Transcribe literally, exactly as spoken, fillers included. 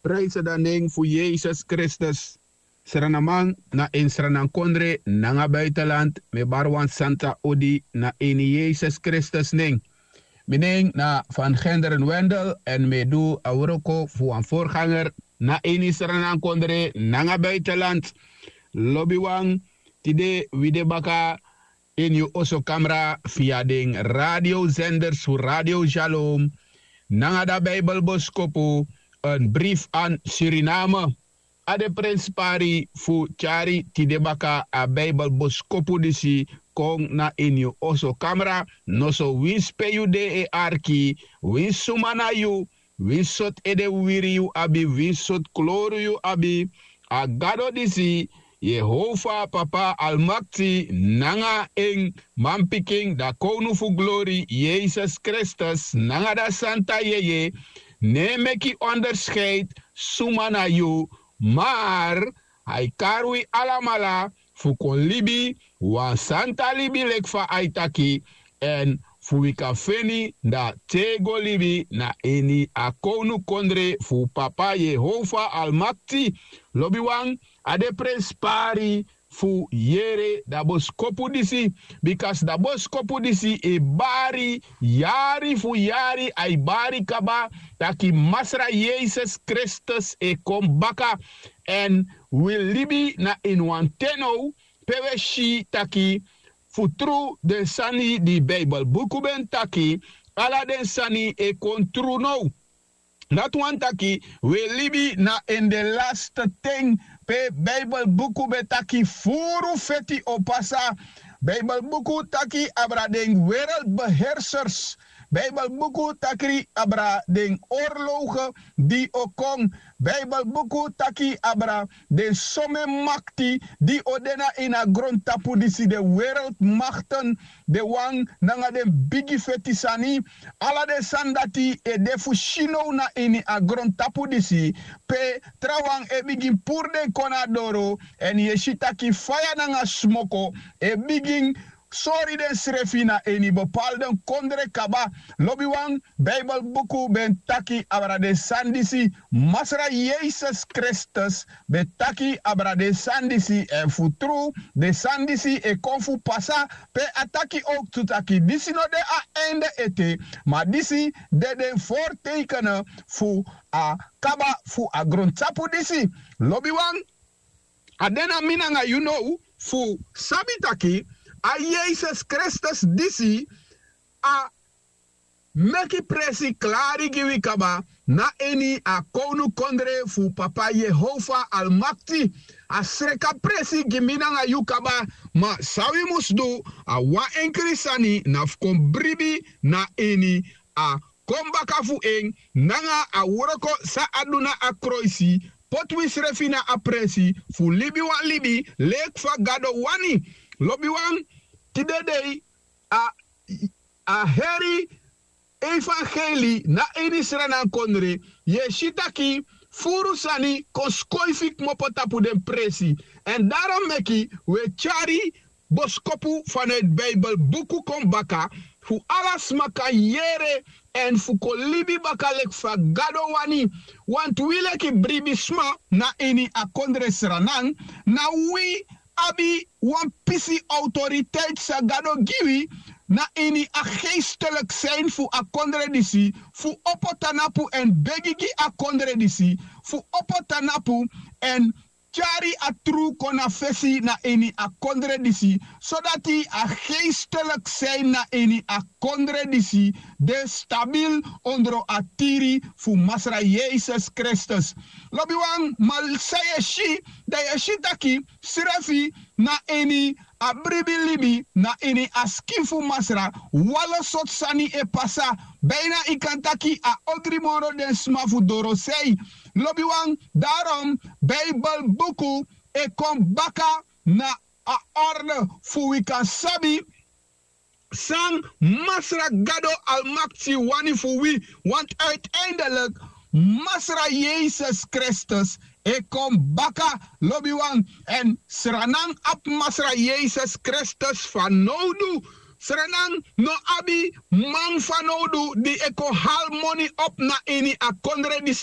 Prijse dan nen fu Yesus Kristus. Sranaman na ini sranankondre nanga buitenland, mi e bari wan santa odi na ini Yesus Kristus nen. Mi nen na Van Genderen Wendel èn mi e du a wroko fu wan voorganger na ini sranankondre nanga buitenland. Lobiwan, tide wi de baka ini yu oso kamra via den radiozenders fu Radio Shalom nanga da Bijbelboskopu, een brief aan Suriname. A de prenspari fu tyari tide baka a Bijbelboskopu disi kon na ini yu oso kamra, noso winsi pe yu de e arki, winsi suma na yu, winsi sortu ede wiri yu abi, winsi sortu kloru yu abi, a Gado disi, Yehova Papa Almakti, nanga en manpikin, da Kownu fu glori, Yesus Kristus, nanga da Santa Yeye, no e meki onderscheid suma na yu, maar a e kari wi alamala fu kon libi wan santa libi leki fa a e taki, èn fu wi kan feni da tego libi na ini a kownukondre fu Papa Yehova Almakti. Lobiwan, a de prenspari fu yere da boskopu disi, bika da boskopu disi e bari yari fu yari, a e bari kaba taki Masra Yesus Kristus e kon baka. Èn wi libi na ini wan ten now pe wi e si taki fu tru den sani di Bijbelbuku ben taki, ala den sani e kon tru now. Dati wani taki wi e libi na ini den laste ten pe Bijbelbuku ben taki furu feti o pasa. Bijbelbuku taki abra den wereldbeheersers. Bijbelbuku taki abra den oorlogen di o kon. Bijbelbuku taki abra den somen makti di o de na ini a grontapu disi, den wereldmakten, den wan nanga den bigi feti sani. Ala den sani dati e de fu si now na ini a grontapu disi, pe trawan e bigin puru den kon na doro, èn yu e si taki faya nanga smoko e bigin sori densrefi na ini bepaalde kondre kaba. Lobiwan, Bijbelbuku ben taki abra den sani disi, Masra Yesus Kristus ben taki abra den sani disi, èn fu tru den sani disi e kon fu pasa. Pe a taki owktu taki disi no de a einde ete, ma disi de den voortekenen fu a kaba fu a grontapu disi. Lobiwan, a de na mi nanga yu now fu sabi taki a Yesus Kristus disi a meki presi klari gi wi kaba na ini a kownukondre fu Papa Yehova Almakti. A sreka presi gi mi nanga yu kaba, ma san wi mus du, a wan enkri sani, na fu kon bribi na ini a kon baka fu en nanga a wroko san a du na a kroisi, poti wisrefi na a presi fu libi wan libi leki fa Gado wani. Lobiwan, tide dei a, a heri evangeli na ini sranankondre, yu e si taki furu sani kon skoifi kmopo tapu den presi. Èn darom meki wi e tyari boskopu vanuit Bijbelbuku kon baka, fu ala sma kan yere èn fu kon libi baka leki fa Gado wani. Wantu wi leki bribisma na ini a kondre Sranan, na wi abi wan pisi autoriteit san Gado gi wi na ini a geestelijk zijn fu a kondre disi, fu opo tanapu èn begi gi a kondre disi, fu opo tanapu èn tyari a tru kon na fesi na ini a kondre disi, sodati a geestelijk zijn na ini a kondre disi de stabil ondro a tiri fu Masra Yesus Kristus. Lobiwan, ma san yu e si, dan yu e si taki srefi na ini a bribi libi na ini a skin fu Masra, wan lo sortu sani e pasa. Bijna yu kan taki a ogri moro den sma fu dorosei. Lobiwan, darom Bijbelbuku e kon baka na a orde fu wi kan sabi san Masra Gado Almakti wani fu wi. Want uiteindelijk Masra Yesus Kristus e kon baka, lobiwan. Èn Sranan abi Masra Yesus Kristus fanowdu. Sranan no abi man fanowdu di e kon hali moni op na ini a kondre di